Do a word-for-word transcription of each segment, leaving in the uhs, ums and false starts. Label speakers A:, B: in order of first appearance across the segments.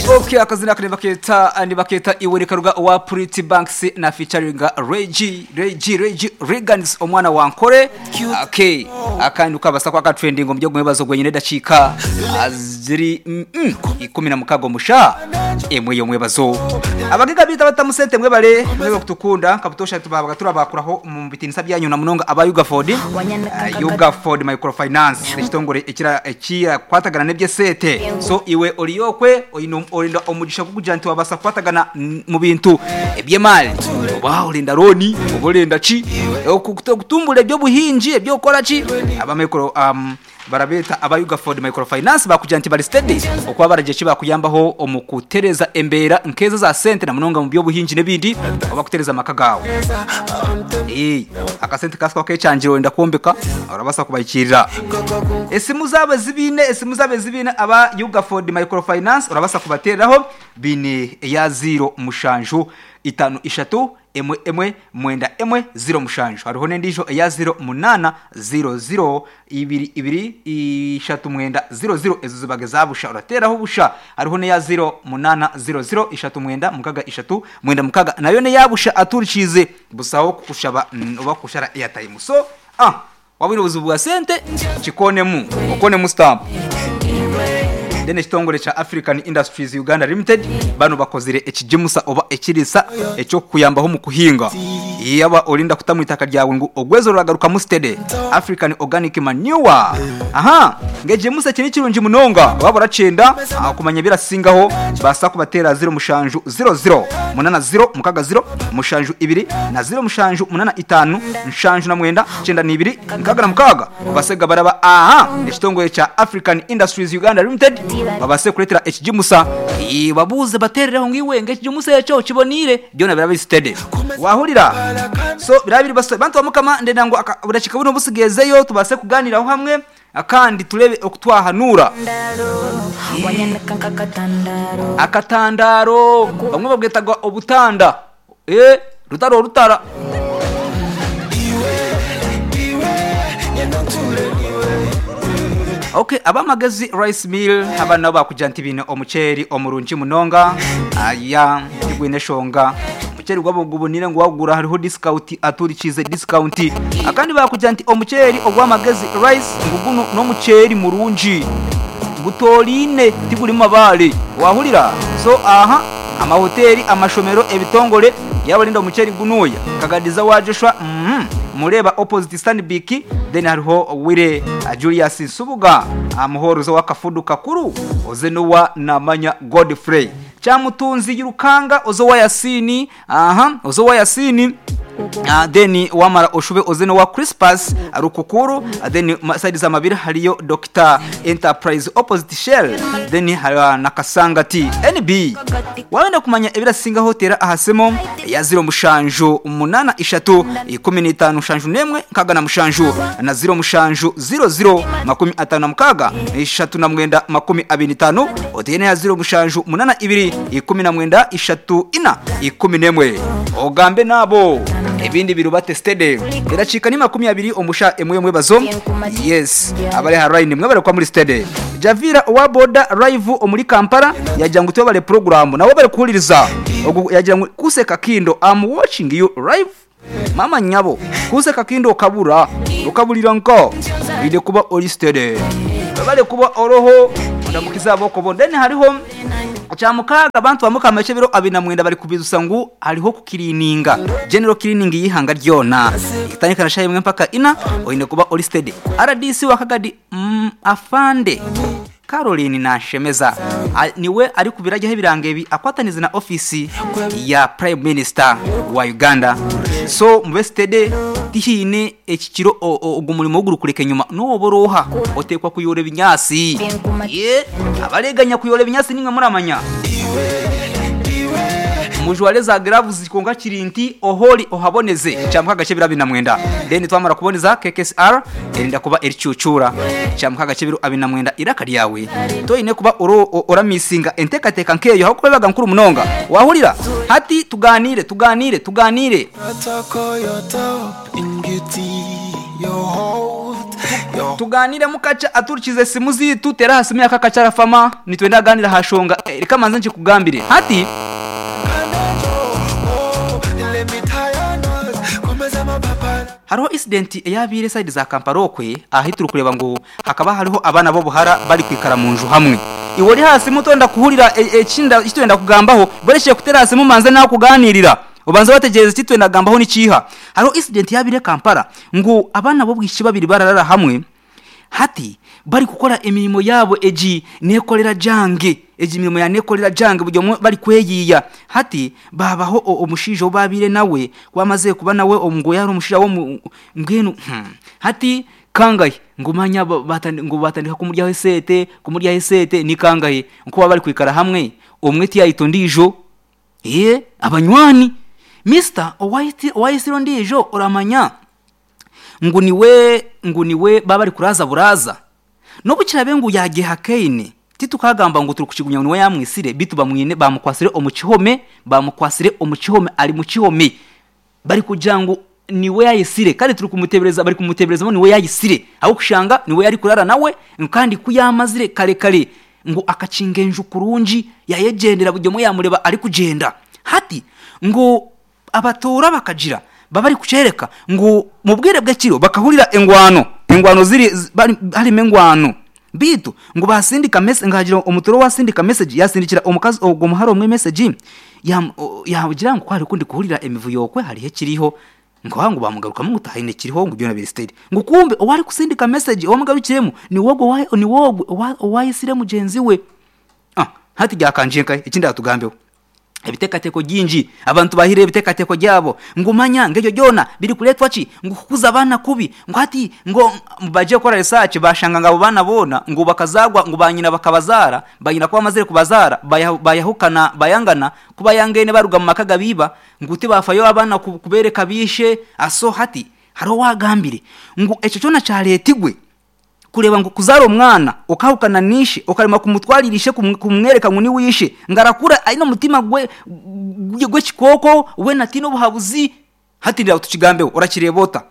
A: Okay, akazina kane baketa ni baketa iwe karuga wa Pretty Banks na featuring Reggie Reggie Reggie Regans omwana wa Nkore. Okay, akandi ukabasa kwa ka trending mu byo mwebazo gwenyine dacika ziri mm, mm, ikumi na mukago musha emwe yo mwebazo abagiga bita batamusente mwebale mwebe kutukunda kabutosha tubabaga turabakuraho mu bitinisa byanyu na munonga aba Ugaford uh, Ugaford Microfinance ekitongore ekira ekira kwatagana nebyesete so iwe oriyokwe oyino orinda omugisha kukugira nti wabasa kwatagana mu bintu ebyemali oba orinda roni oborinda ki okutumbula ebyo buhinji ebyo okora ki aba micro um, barabeta aba Ugaford Microfinance bakugira nti bari steady okuba baraje ki bakuyambaho omukutereza embera nkeza za sente na munonga mu byo buhinji nebindi oba kutereza amaka gawe eh akasente kaswa kechanjiro wenda kuombeka urabasa kubayikirira esimu zabe zibine esimu zabe zibine aba Ugaford Microfinance urabasa kubateraho bine ya zero mushanju itanu ishatu emwe emwe mwenda emwe zero mushanju hariho n'endijo eya zero munana zero zero ibiri ibiri ishatu mwenda zero zero ezo zibaga zabusha urateraho busha hariho n'eya zero munana zero zero ishatu mwenda mukaga ishatu mwenda mukaga nayo ne yabusha aturikize busaho kushaba mm, oba kushara airtime so ah wabiri obuzibu bwa sente kikonemu okonemu stamp then ekitongole cha African Industries Uganda Limited bano bakozire ekijimusa oba ekirisa ekyokuyambaho mu kuhinga yaba olinda kutamu itaka ryawe ngo ogwezo ruragaruka mu steady African Organic Manure aha ngejimusa kini kirungi munonga waba uracenda kumanya birasingaho basa kubatera zero mushanju zero zero munana zero mukaga zero mushanju ibiri na zero mushanju munana itanu nshanju na mwenda cenda nibiri mukaga na mukaga basega baraba aha ekitongole cha African Industries Uganda Limited babase kuretera ekijimusa babuze baterereho ngiwe ngekijimusa eco kibonire byona biraba steady wahurira so birabiri baso bantu bamukama ndenda ngo burashika buno busigezeyo tubase kuganiraho hamwe akandi turebe okutwahanura akatandaro bamwe babwetaga obutanda eh rutaro rutara Okay, abamagezi rice mill abana bakuja nti bino omuceri omurungi munonga aya tigwine shonga omuceri gwabo gubonire ngo wagura hariho discount aturikize discount akandi bakuja nti omuceri ogwamagezi rice nguguno n'omuceri murungi gutoline tiguri mabale wahurira so aha amahoteli amashomero ebitongole yabalinda omuceri gunuya kagadiza wa Joshua mm -hmm. Mureba opposite Stanbic then hariho wire uh, Julius Nsubuga amuhorozo uh, wakafudu kakuru ozenuwa namanya Godfrey Chamutunzi yurukanga ozo wa Yasini aha ozo wa Yasini Uh, then wamara oshube ozeno wa Crispus rukukuru uh, then side za mabiri hariyo Doctor Enterprise opposite Shell then hariyo nakasanga T N B wabenda kumanya ebirasinga hotera ahasemo ya zero mushanju umunana ishatu ikumi n'itanu mushanju nemwe nkaga na mushanju na zero mushanju zero zero makumi atanu na mukaga ishatu na mwenda makumi abiri n'itanu otene ya zero mushanju munana ibiri ikumi na mwenda ishatu ina ikumi nemwe ogambe nabo ebindi biruba tested iracika ni makumi abiri omusha emwe emwe bazo yes abale haraini mwe bare kwa muri stade Javira wa boda live omuri Kampala yagira ngo tubale program nabo bare kuhuliriza yagira ngo kuseka kindo I'm watching you live mama nyabo kuseka kindo kabura ukabulira nko ide kuba ori stade bale kuba oroho ndamukiza boko bondene hariho cyamukaga abantu bamukama cyo biro abina mwenda bari kubizusa ngo hariho kukirininga general cleaning yihanga ryona itanyika nashaye mwe mpaka ina oyine kuba ori steady R D C wakagadi mm, afande Caroline Nashemeza niwe ari kubirajyaho ibirango ebi akwataniza na office ya Prime Minister wa Uganda so mube steady tihine ekikiro ogumurimo ogurukureka nyuma noboroha otekwa kuyora ebinyasi ye abareganya kuyora ebinyasi nimwe muramanya mujwale za gloves zikonga kirinti oholi ohaboneze cyamuka gace birabi na mwenda then twamara kuboneza K K S R erinda kuba ericucura cyamuka gace biru abina mwenda iraka ryawe toyine kuba oro oramisinga entekateka nkeyo aho kubaga nkuru munonga wahurira hati tuganire tuganire tuganire Tuganire mukacha aturikize simu zitu tera hasimu yakakacha rafama nitwenda ganira hashonga eh, reka manze nkikugambire hati hariho incident eyabire side za Kampala okwe ahi turi kureba ngo hakaba hariho abana bo buhara bari kwikara mu nju hamwe. Iwe uri hasi mutonda kuhurira ekinda e, kitwenda kugambaho boreshe kutera hasi mumanze nawe kuganirira ubanza bategereza kitwenda gambaho nikiha. Hariho incident yabire Kampala ngo abana bo bwishi babiri bararara hamwe hati bari gukora imirimo yabo eji nekolera jange eji mirimo ya nekolera jange buryo bari kweyiya hati babaho omushijo babire nawe kwamaze kuba nawe omgo yari omushija wo mbwenu hmm. Hati kangahe ngumanya batandi ngo batandika kumurya esete kumurya esete ni kangahe nko bari kwikara hamwe omwe ti yayitondijo eh abanywani Mister White White ndijo oramanya nguniwe nguniwe baba ari kuraza buraza no bukirabe ngu yageha keine titukagamba ngo turi kuchigunya niwe yamwisire bitu bamwine bamukwasire omukihome bamukwasire omukihome ari mu kihome bari kujangu niwe yayisire kandi turi kumutebereza bari kumutebereza niwe yayisire aho kushanga niwe yari kurara nawe kandi kuyamazire kare kare ngo akacingenje kurungi yayegendera buryo yamureba ari kugenda hati ngo abatora bakagira babari kucereka ngo mubwire bw'ekiro bakahurira engwano engwano ziri harimo engwano bitu ngo basindika message ngagira umutoro wasindika message yasindikira omukazi ogwo muharo omwe message yagira ngo kwari kundi kuhurira emivuyo kwe hari kiriho ngo ngo bamugaruka mu gutahine kiriho ngo byona biri state ngo kumbe owari kusindika message omugarukiremo ni wogo wa ni wogo wayisire mugenzi we ah hati gyakanjenka ikindi atugambeho ebitekateko ginji abantu bahire ebitekateko gyabo ngumanya ngejo jona biri kuletwa ki ngo kukuza abana kubi ngo ati ngo baje gukora research bashanga ngabo bana bona ngo bakazagwa ngo banyina bakabazara banyina kuba amazire kubazara bayahukana bayangana kuba yangene baruga mu makaga biba ngo uti bafayo abana kubereka bishe aso hati haro wagambire ngo eco cyona ca leta igwe kureba ngo kuzara umwana ukahukana nishi ukarima kumutwaririshe kumwereka ngo ni wishe ngarakura aino mutima gwe gwe kikoko we natino buhabuzi hatirira tukigambeho urakirebota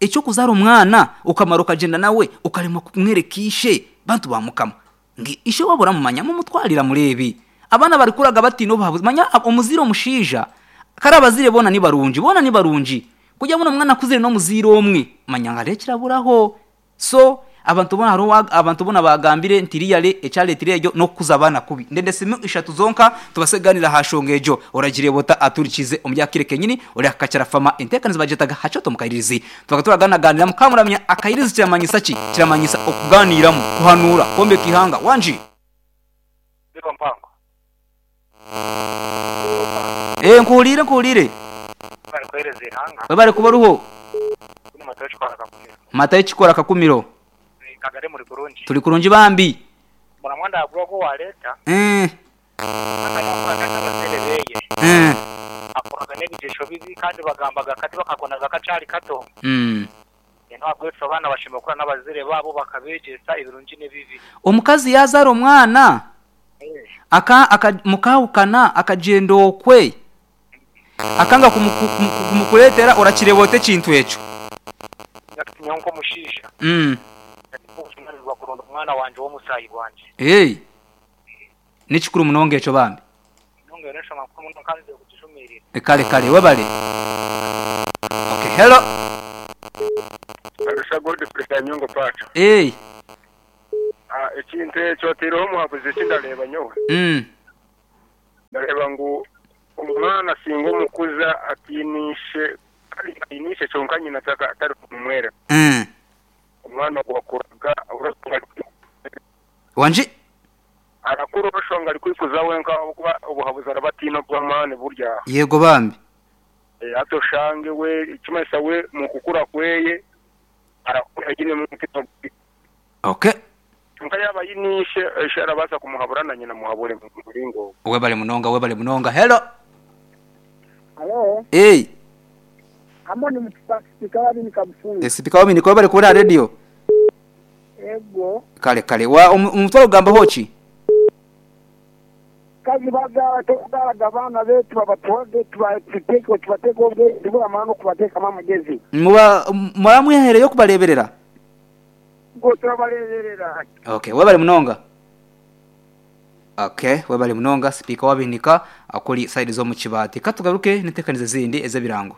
A: icyo kuzara umwana ukamara ukagenda nawe ukarima kumwerekishe bantu bamukama ngi ishe wabura mumanya mumutwarira murebi abana bari kuraga batino buhabuzi manya omuziro mushija karabazire bona ni barunji bona ni barunji kujya muna mwana kuzire no muziro omwe manya ngarekiraburaho so abantu bona haro abantu bona bagambire ntiriyale echale tirejo no kuzabana kubi ndende simu ishatu zonka tubaseganira hashongejo oragire bota aturikize ombyakire kenyini ori akacara fama entekanizo bajetaga hachoto mukairizi tukatura ganira mukamuramya akairizi kiramanyisa ki kiramanyisa okuganiramu kuhanura kombe kihanga wanji
B: biro mpango
A: eh nkuhulire nkuhulire
B: bari kwereza ihanga
A: bari kubaruho
B: matayo
A: chikora kakumiro
B: kagare muri kurungi
A: turi kurungi bambi
B: muramwanda agwa wa leta
A: eh
B: eh akoraga n'ebigesho bibi kandi bagambaga kati bakakonaga kacari kato
A: mm
B: ntabwo abana bashima gukora n'abazire babo bakabegesa ibirungi n'ibibi
A: omukazi yazara omwana aka aka mukahukana akagenda okwe akanga kumukuletera orakirebota ekintu ekyo
B: nyonko mushisha
A: mm
B: kuronda umwana wanje wo musayi wanje
A: hey nikikuru munonga echo bambi
B: nonga resha makuru muno kandi kugishumirira
A: kale kale webale okay hello
C: Arusha gold pressure nyongo pacho
A: hey
C: ah ekintu echo tiro muhabuze kindareba nyowe
A: mm
C: ndareba ngo umwana singo mukuza atinishe atinishe cyonka nyina atari kumwera
A: mm
C: umwana wakuraga urakura
A: wanje
C: arakura bashonga ari kwikuza wenka kuba ubuhabuza arabatina bw'amane burya
A: yego bambi
C: e, atoshange we ikimaisa we mu kukura kweye arakura gine mu mutima
A: okay
C: nka yaba yinishe ishara kumuhabura na nyina muhabure mu muringo
A: we bale munonga we bale munonga hello
D: hello
A: hey
D: Amoni mtipasika wabi nikamufunga.
A: Esipika wabi niko bari kubona radio.
D: Ego.
A: Kale kale wa umutwaro ugamba hochi.
D: Kazi baga tokugala gavana betu babatwage tubateke tubateke obwe tuba amano kubateka mama gezi.
A: Muba muramwihere yo kubareberera.
D: Ngo turabareberera.
A: Okay, webale munonga. Okay, webale munonga speaker wabinika akoli side zo mu kibati. Katugaruke nitekanize zindi ezebirango.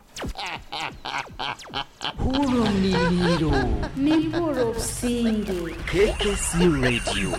E: Hurumiro
F: Nimpuro Businge
E: K K C Radio.